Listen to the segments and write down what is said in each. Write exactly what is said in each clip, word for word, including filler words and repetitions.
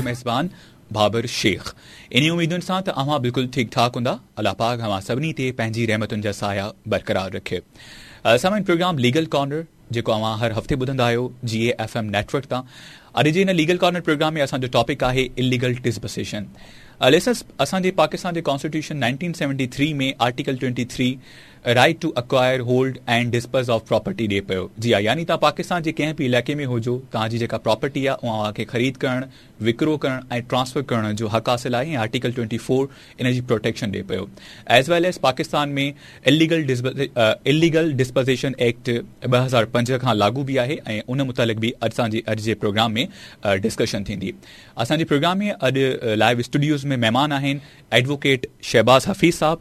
मेज़बान बाबर शेख। इन्हीं उम्मीदुनि सां त अव्हां बिल्कुलु ठीकु ठाक हूंदा। अलाह पाक अव्हां सभिनी ते पंहिंजी रहमतुनि जा साया बरक़रार रखे। सामान प्रोग्राम लीगल कॉर्नर जेको अव्हां हर हफ़्ते ॿुधंदा आहियो जी ए एफ एम नेटवर्क तां, अॼु जे हिन लीगल कॉर्नर प्रोग्राम में असांजो टॉपिक आहे इलीगल डिस्पोज़िशन। लिसनर्स, असांजे पाकिस्तान जे constitution nineteen seventy three में article twenty three right to acquire, hold and dispose of property ॾिए पियो। जी हा, यानी तव्हां पाकिस्तान जे कंहिं बि इलाइक़े में हुजो, तव्हांजी जेका प्रॉपर्टी आहे उहा तव्हांखे ख़रीद करणु, विकिरो करणु ऐं ट्रांसफ़र करण जो हक़ हासिल आहे ऐं आर्टिकल ट्वेंटी फोर इन जी प्रोटेक्शन ॾिए पियो। As well as Pakistan में इलीगल इलीगल डिस्पोज़िशन एक्ट ॿ हज़ार पंज खां लागू बि आहे ऐं उन मुतालिक़ बि असांजे अॼु जे प्रोग्राम में डिस्कशन थींदी। असांजे प्रोग्राम में अॼु लाइव स्टूडियोज़ में महिमान आहिनि एडवोकेट शहबाज़ हफ़ीज़ साहब,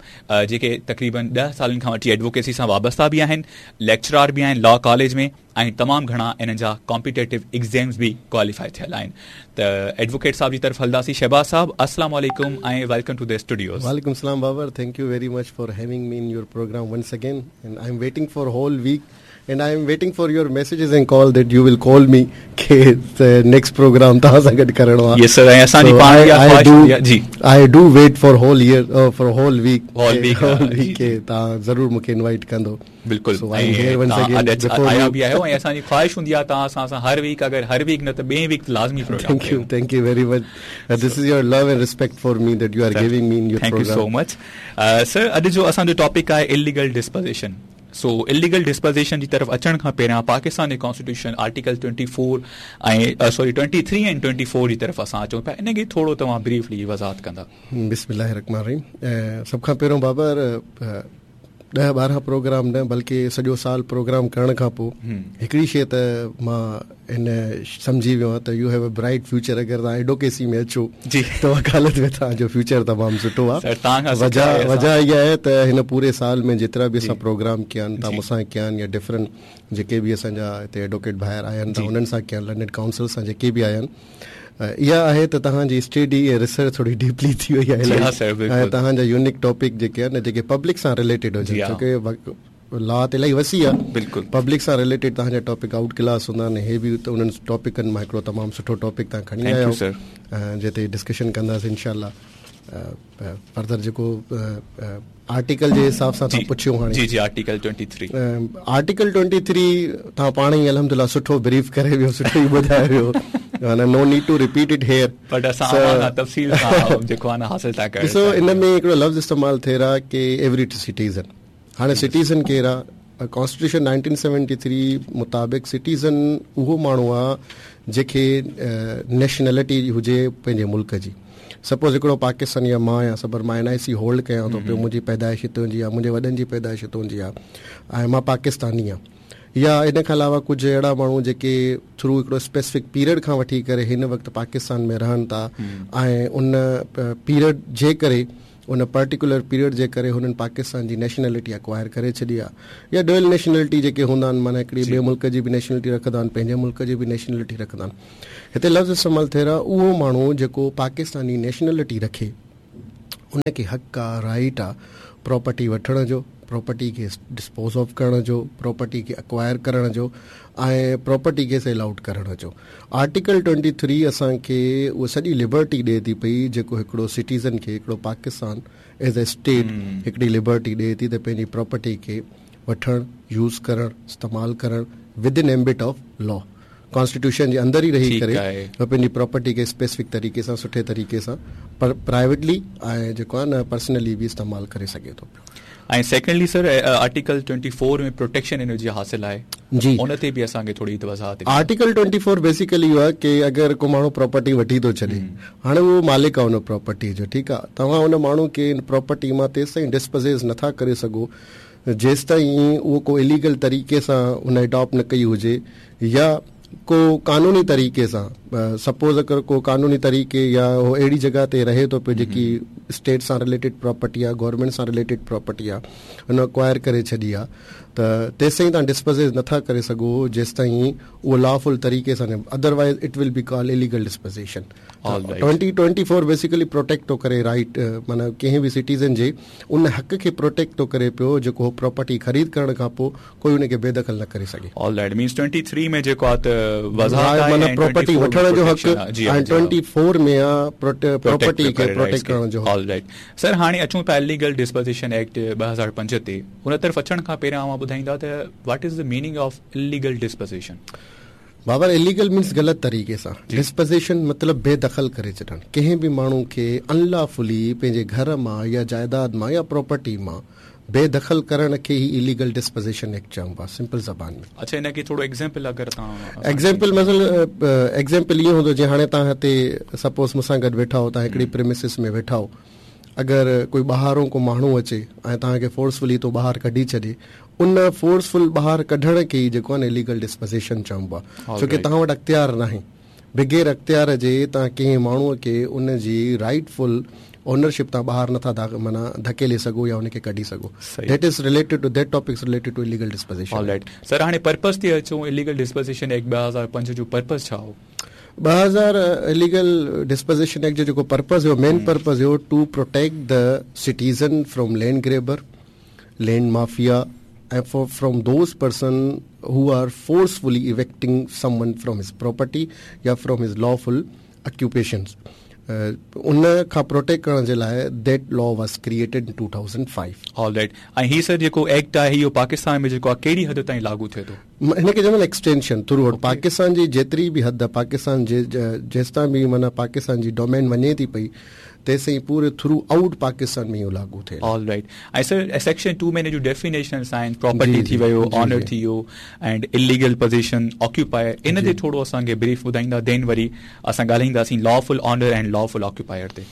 जेके तक़रीबन ॾह सालनि खां वठी एडवोकेसी सां वाबस्ता बि आहिनि, लेक्चरार बि आहिनि लॉ कॉलेज में ऐं तमामु घणा इन्हनि जा कॉम्पिटेटिव एग्ज़ाम्स बि क्वालिफाई थियल आहिनि। त एडवोकेट साहब जी तरफ़ हलंदासीं। शहबाज़ साहब, अस्सलाम वालेकुम ऐं welcome to the studios. वालेकुम सलाम Babar, thank you very much for having me in your program once again and I am waiting for whole week and I am waiting for your messages and call that you will call me के next programme तव्हां सां गॾु करिणो आहे। यस sir, ऐं असांजी पाण इहा ख़्वाहिश हूंदी आहे। जी, I do wait for whole year, for whole week, whole week, whole week के तव्हां ज़रूर मूंखे इनवाइट कंदो। बिल्कुलु, आया बि आहियो ऐं असांजी ख़्वाहिश हूंदी आहे तव्हां असां सां हर वीक, अगरि हर वीक न त ॿिए वीक लाज़मी programme. Thank you, thank you very much. This is your love and respect for me that you are giving me in your thank you so much sir. अॼु जो असांजो टॉपिक आहे illegal disposition. So illegal disposition जी तरफ़ अचण खां पहिरियां पाकिस्तान जे constitution article twenty four ऐं sorry twenty three ऐं ट्वेंटी फोर जी तरफ़ असां अचूं पिया, इन खे थोरो तव्हां ब्रीफली वज़ाहत कंदा। बिस्मिल्लाह रहमान रहीम। सभ खां पहिरियों बाबर, ॾह ॿारहं प्रोग्राम न बल्कि सॼो साल प्रोग्राम करण खां पोइ हिकिड़ी शइ त मां हिन सम्झी वियो आहियां त you have a bright future. अगरि तव्हां एडवोकेसी में अचो जी त वकालत में तव्हांजो फ्यूचर तमामु सुठो आहे। वजह वजह इहा आहे त हिन पूरे साल में जेतिरा बि असां प्रोग्राम कया आहिनि, तव्हां मूंसां कया आहिनि या डिफरेंट जेके बि असांजा हिते एडवोकेट ॿाहिरि आया आहिनि, तव्हां उन्हनि सां कया आहिनि, लर्नड काउंसिल सां जेके बि आया आहिनि, इहा आहे त तव्हांजी स्टडी ऐं रिसर्च थोरी डीपली थी वई आहे ऐं तव्हांजा यूनिक टॉपिक जेके आहिनि जेके पब्लिक सां रिलेटेड हुजनि, छोके लॉ त इलाही वसी आहे, बिल्कुलु पब्लिक सां रिलेटेड तव्हांजा टॉपिक आउट क्लास हूंदा आहिनि। हे बि त उन्हनि टॉपिकनि मां हिकिड़ो तमामु सुठो टॉपिक तव्हां खणी आया आहियो जंहिं ते डिस्कशन कंदासीं इनशाला। फर्दर जेको आर्टिकल जे हिसाब सां तव्हां पुछियो हाणे, जी जी, article twenty three, article twenty three तव्हां पाण ई अल्हम्दुलिल्लाह सुठो ब्रीफ करे वियो, सुठो ई ॿुधाए वियो, no need to repeat it here, but असां तफ़सील सां जेको आहे न हासिल था करणु। ॾिसो, इन में हिकिड़ो लफ़्ज़ इस्तेमाल थिए रहा की एवरी सिटीज़न। हाणे सिटीज़न केरु आहे? कॉन्स्टिट्यूशन नाइनटीन सेवेंटी थ्री मुताबिक़ सिटीज़न उहो माण्हू आहे जंहिंखे नेशनलिटी हुजे पंहिंजे मुल्क जी। सपोज़ हिकिड़ो पाकिस्तानी आहे, मां आहियाँ, सपोज़ मां एन आई सी होल्ड कयां थो पियो, मुंहिंजी पैदाइश हितां जी आहे, मुंहिंजे वॾनि जी पैदाइश हितां जी आहे ऐं मां पाकिस्तानी आहियाँ। या इन खां अलावा कुझु अहिड़ा माण्हू जेके थ्रू हिकिड़ो स्पेसिफिक पीरियड खां वठी करे हिन वक़्तु पाकिस्तान में रहनि था ऐं उन पीरियड जे करे, उन पर्टिकुलर पीरियड जे करे हुननि पाकिस्तान जी नेशनलिटी अक्वायर करे छॾी आहे, या डुअल नेशनलिटी जेके हूंदा आहिनि, माना हिकिड़ी ॿिए मुल्क जी बि नेशनलिटी रखंदा आहिनि, पंहिंजे मुल्क जी बि नेशनलिटी रखंदा आहिनि। हिते लफ़्ज़ इस्तेमालु थियल आहे उहो माण्हू जेको पाकिस्तानी नेशनलिटी रखे, उनखे हक़ आहे, राइट आहे प्रॉपर्टी वठण जो, प्रॉपर्टी खे डिस्पोज़ ऑफ करण जो, प्रॉपर्टी खे अक्वायर करण जो ऐं प्रॉपर्टी खे सेल आउट करण जो। आर्टिकल ट्वेंटी थ्री असांखे उहा सॼी लिबर्टी ॾिए थी पई जेको हिकिड़ो सिटीज़न खे, हिकिड़ो पाकिस्तान एज़ अ स्टेट हिकिड़ी लिबर्टी ॾिए थी त पंहिंजी प्रॉपर्टी खे वठण, यूज़ करण, इस्तेमालु करण within ambit of law, constitution जे अंदरि ई रही करे पंहिंजी प्रॉपर्टी खे स्पेसिफिक तरीक़े सां, सुठे तरीक़े सां पर प्राइवेटली ऐं जेको आहे न पर्सनली बि इस्तेमालु करे सघे थो पियो। ऐं secondly sir, article twenty four में प्रोटेक्शन इन जी हासिल आहे जी, उन ते बि असांखे थोरी वज़ाहत। आर्टिकल ट्वेंटी फोर बेसिकली इहो आहे की अगरि को माण्हू प्रॉपर्टी वठी थो छॾे, हाणे उहो मालिक आहे उन प्रॉपर्टी जो, ठीकु आहे, तव्हां उन माण्हू खे प्रॉपर्टी मां तेसि ताईं डिस्पोज़ेस नथा करे सघो जेसि ताईं उहो को इलीगल तरीक़े सां उन अडॉप्ट न कई हुजे या को कानूनी तरीक़े सां। सपोज़ अगरि को कानूनी तरीक़े या उहो अहिड़ी जॻह ते रहे थो पियो जेकी स्टेट सां रिलेटेड प्रॉपर्टी आहे, गवर्नमेंट सां रिलेटेड प्रॉपर्टी आहे, हुन अक्वायर करे छॾी आहे, त ته تيستائين توهان ڊسپوزيس نٿا ڪري سگهو جيستائين اهو لافل طريقي سان نه otherwise it will be call illegal dispossession twenty twenty four basically protect ٿو ڪري رائيٽ معنيٰ ڪنهن به سٽيزن جي ان حق کي پروٽيڪٽ ٿو ڪري پيو جيڪو هو پراپرٽي خريد ڪرڻ کان پوءِ ڪوئي ان کي بيدخل نه ڪري سگهي. All right means twenty three ۾ جيڪو آهي ته وضاحت آهي معنيٰ پراپرٽي وٺڻ جو حق ۽ ٽوئنٽي فور ۾ آهي پراپرٽي کي پروٽيڪٽ ڪرڻ جو حق. آل رائيٽ سر هاڻي اچون ٿا اليگل ڊسپوزيشن ايڪٽ ٻه هزار پنج تي ان طرف اچڻ کان پهريان اوهان ٻڌائيندا ته what is the meaning of illegal dispossession? Babar illegal means غلط طريقي سان ڊسپوزيشن مطلب بي دخل ڪري ڇڏڻ ڪنهن به ماڻهو کي انلافلي پنهنجي گهر مان يا جائيداد مان يا پراپرٽي مان بي دخل ڪرڻ کي ئي اليگل ڊسپوزيشن ايڪٽ چئبو آهي سمپل زبان ۾. اڇا ان کي ٿورو ايگزامپل اگر توهان ايگزامپل مثل ايگزامپل ائين هوندو جيئن هاڻي توهان هتي سپوز مون سان گڏ ويٺا آهيو توهان هڪڙي پريمسز ۾ ويٺا آهيو اگر ڪوئي ٻاهرون ڪو ماڻهو اچي ۽ توهان کي فورسفلي ٿو ٻاهر ڪڍي ڇڏي ان فورسفل ٻاهر ڪڍڻ کي ئي جيڪو آهي نه اليگل ڊسپوزيشن چئبو آهي ڇو ڪه توهان وٽ اختيار ناهي بغير اختيار جي توهان ڪنهن ماڻهوءَ کي ان جي رائيٽ فل اونرشپ تان ٻاهر نٿا معنيٰ ڌڪيلي سگهو يا ان کي ڪڍي سگهو. That is related to that topic is related to illegal dispossession. All right sir هاڻي پرپز تي اچون اليگل ڊسپوزيشن ايڪٽ ٻه هزار پنج جو پرپز ڇا هو؟ ٻه هزار اليگل ڊسپوزيشن ايڪٽ جو جيڪو پرپز هيو مين پرپز هيو to protect the citizen from land grabber, land mafia ۽ from those person who are forcefully evicting someone from his property يا فرام his lawful occupations. ان کان پروٽيڪٽ ڪرڻ جي لاءِ that law was created in two thousand five. All right ۽ هي سر جيڪو act آهي اهو پاڪستان ۾ جيڪو آهي ڪهڙي حد تائين لاڳو ٿئي ٿو؟ هن کي چوندا آهن ايڪسٽينشن ٿرو آئوٽ پاڪستان جي جيتري به حد پاڪستان جي جيستائين به معنيٰ پاڪستان جي ڊومين وڃي ٿي پئي تيستائين پوري ٿرو آئوٽ پاڪستان ۾ اهو لاڳو ٿئي. آل رائيٽ ۽ سر سيڪشن ٽو ۾ هن جون ڊيفينيشنس آهن پراپرٽي ٿي ويو آنر ٿي ويو اينڊ اليگل پوزيشن آڪيوپائر ان تي ٿورو اسان کي بريف ٻڌائيندا دين وري اسان ڳالهائينداسين lawful owner and lawful occupier تي.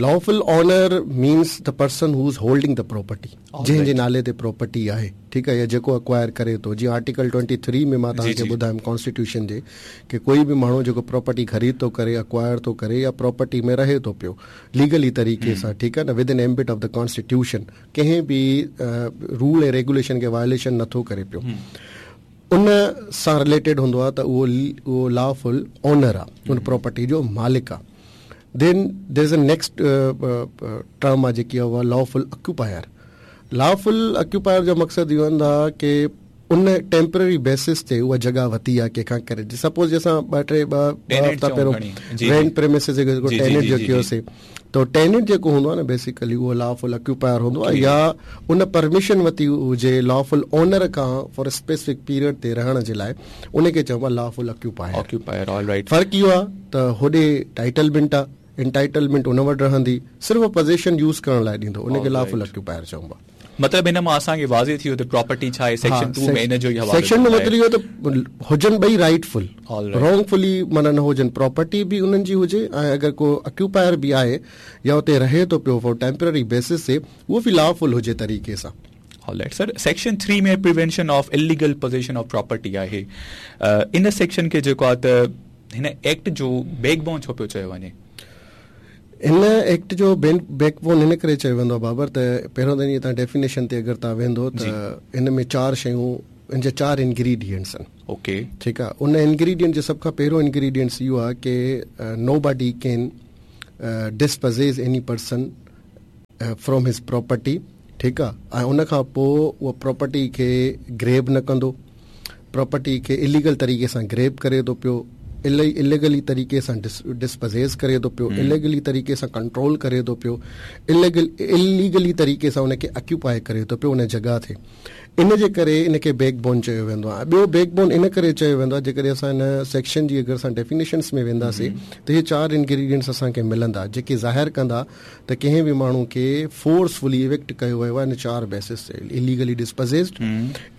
Lawful owner means the person who is holding the property جنهن جي نالي تي پراپرٽي آهي ٺيڪ آهي يا جيڪو اڪوائر ڪري ٿو جيئن آرٽيڪل ٽوئنٽي ٿري ۾ مان توهان کي ٻڌايم ڪانسٽيٽيوشن جي ڪه ڪوئي به ماڻهو جيڪو پراپرٽي خريد ٿو ڪري اڪوائر ٿو ڪري يا پراپرٽي ۾ رهي ٿو پيو ليگلي طريقي سان ٺيڪ آهي نه within ambit of the constitution ڪنهن به رول ۽ ريگوليشن کي وايوليشن نٿو ڪري پيو ان سان رليٽيڊ هوندو آهي ته اهو اهو لافل اونر آهي ان پراپرٽي جو مالڪ آهي. Then there is a next term آهي جيڪي آهي اها لافل آڪيوپائر. لافل آڪيوپائر جو مقصد اهو هوندو آهي ڪه ان ٽيمپرري بيسس تي اها جڳهه ورتي آهي ڪنهن کان ڪري سپوز جيئن اسان ٻه ٽي ٻه هفتا پهريون رينٽ پريمسز جيڪو ٽيننٽ جو ڪيوسين ته ٽيننٽ جيڪو هوندو آهي نه بيسيڪلي اهو لافل آڪيوپائر هوندو آهي يا ان پرميشن ورتي هجي لافل اونر کان فار اسپيسفڪ پيريڊ تي رهڻ جي لاءِ ان کي چئبو آهي lawful occupier. Occupier all right. فرق اهو آهي ته هوڏي ٽائيٽلمينٽ آهي انٽائيٽلمينٽ ان وٽ رهندي صرف پوزيشن يوز ڪرڻ لاءِ ڏيندو ان کي لافل آڪيوپائر چئبو آهي. مطلب هن مان اسان کي واضح ٿي ويو ته پراپرٽي ڇا آهي سيڪشن ٽو ۾ ان جو ئي حوالو سيڪشن ۾ مطلب اهو ته هجن ٻئي رائيٽ فل رانگ فلي معنيٰ نه هجن پراپرٽي به انهن جي هجي ۽ اگر ڪو آڪيوپائر به آهي يا اتي رهي ٿو پيو فار ٽيمپرري بيسس تي اهو به لافل هجي طريقي سان. All right sir section three ۾ prevention of illegal possession of property آهي ان سيڪشن کي جيڪو آهي ته هن ايڪٽ جو بيڪ بون ڇو پيو چيو وڃي؟ هن ايڪٽ جو بيڪ بون هن ڪري چيو ويندو آهي بابر ته پهريون ته توهان ڊيفينيشن تي اگر توهان ويندو ته هن ۾ چار شيون هن جا چار انگريڊينٽس آهن. اوڪي ٺيڪ آهي ان انگريڊينٽ جو سڀ کان پهريون انگريڊينٽس اهو آهي ڪه nobody can dispossess any person from his property ٺيڪ آهي ۽ ان کان پوءِ اها پراپرٽي کي گريب نه ڪندو پراپرٽي کي اليگل طريقي سان گريب ڪري ٿو پيو اليگلي طريقي سان ڊسپوزيس ڪري ٿو پيو اليگلي طريقي سان ڪنٽرول ڪري ٿو پيو اليگل اليگلي طريقي سان ان کي آڪيوپائي ڪري ٿو پيو ان جڳهه تي ان جي ڪري ان کي بيڪ بون چيو ويندو آهي. ٻيو بيڪ بون ان ڪري چيو ويندو آهي جيڪڏهن اسان هن سيڪشن جي اگر اسان ڊيفينيشنس ۾ وينداسين ته اهي چار انگريڊينٽس اسان کي ملندا جيڪي ظاهر ڪندا ته ڪنهن به ماڻهو کي فورسفلي ايوڪٽ ڪيو ويو آهي ان چار بيسس تي illegally dispossessed,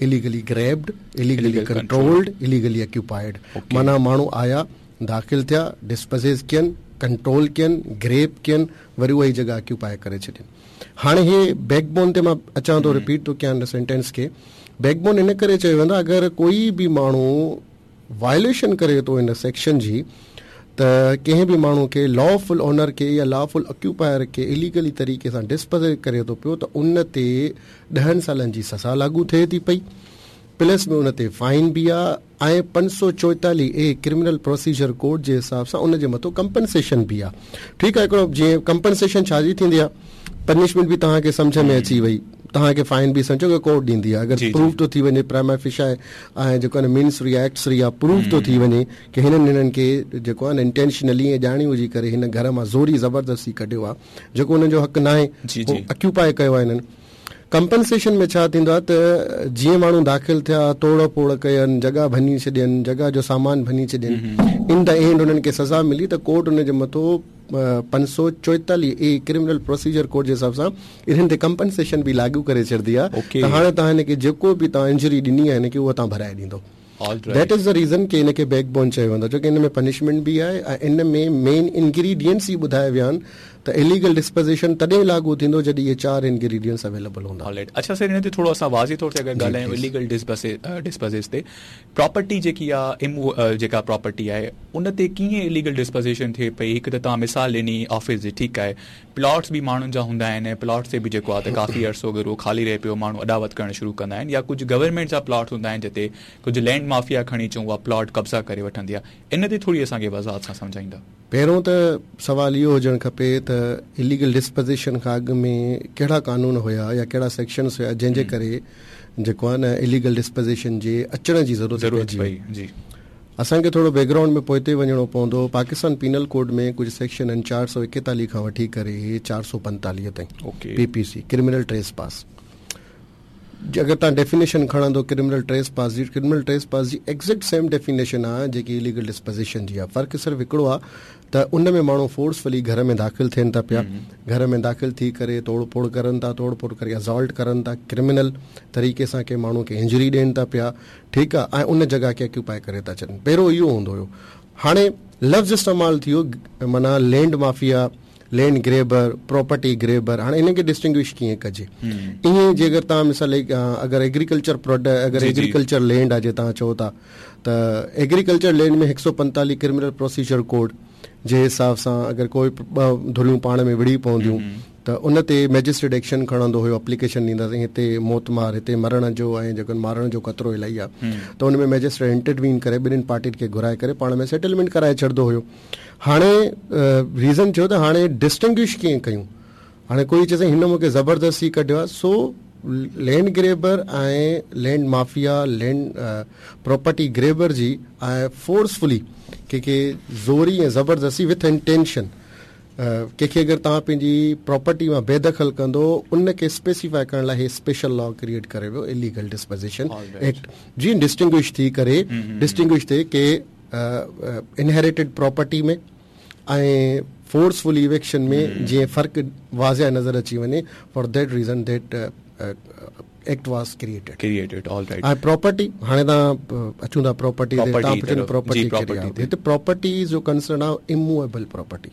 illegally grabbed, illegally controlled, illegally occupied. معنيٰ ماڻهو آيا داخل ٿيا ڊسپوزيس ڪين ڪنٽرول ڪين گريب ڪين وري اها ئي جڳهه آڪيوپائي ڪري ڇڏين. هاڻي هي بيڪ بون تي مان اچان ٿو رپيٽ ٿو ڪيان هن سينٽينس کي. بيڪ بون ان ڪري چيو ويندو آهي اگر ڪوئي به ماڻهو وايوليشن ڪري ٿو هن سيڪشن جي ته ڪنهن به ماڻهو کي لافل اونر کي يا لافل آڪيوپائر کي اليگلي طريقي سان ڊسپوز ڪري ٿو پيو ته ان تي ڏهن سالن جي سزا لاڳو ٿئي ٿي پئي، پلس ۾ ان تي فائن به آهي ۽ پنج سؤ چوئيتاليهه اي ڪرمنل پروسيجر ڪوڊ جي حساب سان ان جي مٿو ڪمپنسيشن به آهي. ٺيڪ آهي، هڪڙو جيئن ڪمپنسيشن ڇا جي ٿيندي آهي، پنشمينٽ به توهان کي سمجهه ۾ اچي وئي، توهان کي فائن به سمجهو ڪه ڪورٽ ڏيندي آهي. اگر پروف ٿو ٿي وڃي پرائما فيشا ۽ جيڪو آهي مينس ريا ايڪٽس ريا پروف ٿو ٿي وڃي ڪه هنن هنن کي جيڪو آهي نه انٽينشنلي ۽ ڄاڻي ٻجهي ڪري هن گهر مان زوري زبردستي ڪڍيو آهي جيڪو هنن جو حق ناهي، هو آڪيوپائي ڪيو آهي هنن. ڪمپنسيشن ۾ ڇا ٿيندو آهي ته جيئن ماڻهو داخل ٿيا، توڙ ڦوڙ ڪين، جڳهه ڀڃي ڇڏين، جڳهه جو سامان ڀڃي ڇڏين، ان the and هنن کي سزا ملي ته ڪورٽ ان جي مٿو پنج سؤ چوئيتاليهه اي ڪرمنل پروسيجر ڪوڊ جي حساب سان انهن تي ڪمپنسيشن به لاڳو ڪري ڇڏندي آهي ته هاڻي توهان هن کي جيڪو به توهان انجري ڏني آهي هن کي اها توهان ڀرائي ڏيندو. That is the reason ڪي هن کي بيڪ بون چيو ويندو آهي ڇو ڪي ان ۾ پنشمينٽ به آهي ۽ ان ۾ مين انگريڊينٽس ئي ٻڌايا ويا آهن ته اليگل ڊسپوزيشن تڏهن لاڳو ٿيندو جڏهن اهي چار انگريڊينٽس اويليبل هوندا. آلرائيٽ، اڇا سر هن تي ٿورو اسان واضح طور تي اگر ڳالهايون اليگل ڊسپوزيشن تي پراپرٽي جيڪي آهي جيڪا پراپرٽي آهي ان تي ڪيئن اليگل ڊسپوزيشن ٿئي پئي؟ هڪ ته توهان مثال ڏني آفيس جي، ٺيڪ آهي، پلاٽس به ماڻهن جا هوندا آهن، پلاٽس تي به جيڪو آهي ته ڪافي عرصو اگر اهو خالي رهي پيو ماڻهو اڏاوت ڪرڻ شروع ڪندا آهن، يا ڪجهه گورنمينٽ جا پلاٽس هوندا آهن جتي ڪجهه لينڊ مافيا کڻي چئون اها پلاٽ قبضا ڪري وٺندي آهي، ان تي ٿوري اسان کي وضاحت سان سمجهائيندا. پهريون ته سوال اهو هجڻ کپي ته اليگل ڊسپوزيشن کان اڳ ۾ ڪهڙا قانون هيا يا ڪهڙا سيڪشنس هيا جنهن جي ڪري جيڪو آهي نه اليگل ڊسپوزيشن جي اچڻ جي ضرورت پئجي وئي. اسان کي ٿورو بيڪ گرائونڊ ۾ پوئتي وڃڻو پوندو. پاڪستان پينل ڪوڊ ۾ ڪجهه سيڪشن آهن چار سؤ ايڪيتاليهه کان وٺي ڪري چار سؤ پنتاليهه تائين P P C criminal trespass. اگر توهان ڊيفينيشن کڻندو ڪرمنل ٽريس پاس جي، ڪرمنل ٽريس پاس جي ايگزيڪٽ سيم ڊيفينيشن آهي جيڪي اليگل ڊسپوزيشن جي آهي. فرق صرف هڪڙو آهي ته ان ۾ ماڻهو فورسفلي گهر ۾ داخل ٿين ٿا پيا، گهر ۾ داخل ٿي ڪري توڙ ڦوڙ ڪرن ٿا، توڙ ڦوڙ ڪري اسالٽ ڪرن ٿا، ڪرمنل طريقي سان ڪنهن ماڻهو کي انجري ڏين ٿا پيا، ٺيڪ آهي، ۽ ان جڳهه کي آڪيوپائي ڪري ٿا ڇڏن. پهريون اهو هوندو هيو. هاڻي لفظ استعمال ٿيو معنيٰ land mafia, land grabber, property grabber. هاڻي انهن کي ڊسٽنگوش ڪيئن ڪجي؟ ائين جي اگر توهان مثال اگر ايگريڪلچر پروڊڪٽ اگر ايگريڪلچر لينڊ آهي جي توهان چئو ٿا ته ايگريڪلچر لينڊ ۾ هڪ سؤ پنتاليهه ڪرمنل پروسيجر ڪوڊ جي حساب سان اگر ڪوئي ٻه ڌريون پاڻ ۾ وڙهي پونديون ته ان تي مئجسٽريٽ ايڪشن کڻندو هيو، اپليڪيشن ڏينداسين هتي موت مار، هتي مرڻ جو ۽ جيڪو مارڻ جو خطرو الاهي آهي ته ان ۾ مئجسٽريٽ انٽروين ڪري ٻنهين پارٽين کي گهرائي ڪري پاڻ ۾ سيٽلمينٽ ڪرائي ڇڏندو هيو. هاڻي ريزن ٿيو ته هاڻي ڊسٽنگوش ڪيئن ڪيون؟ هاڻي ڪوئي چئي سائين هن مون کي زبردستي ڪڍيو آهي، سو land grabber ۽ land mafia, land property grabber جي ۽ فورسفلي ڪنهن کي زوري ۽ زبردستي وٿ انٽينشن ڪنهن کي اگر توهان پنهنجي پراپرٽي مان بي دخل ڪندو ان کي اسپيسيفائي ڪرڻ لاء هي اسپيشل لا ڪريئيٽ ڪري ويو اليگل ڊسپوزيشن ايڪٽ، جيئن ڊسٽنگوش ٿي ڪري ڊسٽنگوش ٿئي ڪي انهيريٽيڊ پراپرٽي ۾ ۽ فورسفل ايويڪشن ۾ جيئن فرق واضح نظر اچي وڃي، for that reason that act was created. Created, all right. ۽ Property هاڻي توهان اچون ٿا پراپرٽي تي، توهان پڇو پراپرٽي ڪهڙي آهي؟ هتي پراپرٽي جو ڪنسرن آهي اموويبل پراپرٽي.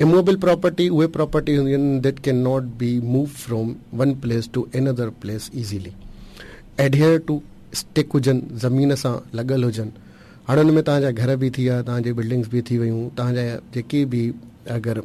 اموويبل پراپرٽي اهي پراپرٽي هونديون آهن that can not be move from one place to another place easily, adhere to stick هجن، زمين سان لڳل هجن. هاڻي ان ۾ توهان جا گهر به ٿي ويا، توهان جي بلڊنگس به ٿي ويون، توهان جا جيڪي به اگر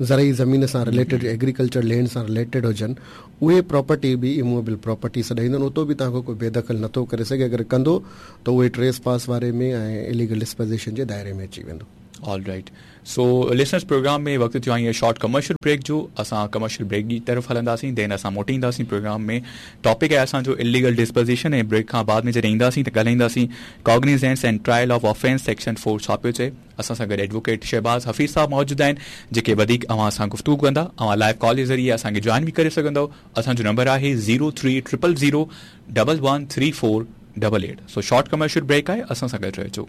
زرعي زمين سان رليٽيڊ ايگريڪلچر لينڊ سان رليٽيڊ هجن اهي پراپرٽي به اموويبل پراپرٽي سڏائيندن. اتو به توهان کي ڪوئي بي دخل نٿو ڪري سگهي، اگر ڪندو ته اهي ٽريس پاس واري ۾ ۽ اليگل ڊسپوزيشن جي دائري ۾ اچي ويندو. All right, so listeners programme ۾ وقت ٿيو آهي شارٽ ڪمرشل بريڪ جو. اسان ڪمرشل بريڪ جي طرف هلنداسين، دين اسان موٽي اينداسين. پروگرام ۾ ٽاپڪ آهي اسان جو اليگل ڊسپوزيشن ۽ بريڪ کان بعد ۾ جڏهن اينداسين ته ڳالهائينداسين cognizance and trial of offence section four ڇا پيو چئي. اسان سان گڏ ايڊووڪيٽ شهباز حفيظ صاحب موجود آهن جيڪي وڌيڪ اوهان سان گفتگو ڪندا. اوهان لائيو ڪال جي ذريعي اسان کي جوائن به ڪري سگهندؤ. اسان جو نمبر آهي zero three triple zero double one three four double eight. So short commercial break آهي، اسان سان گڏ رهجو.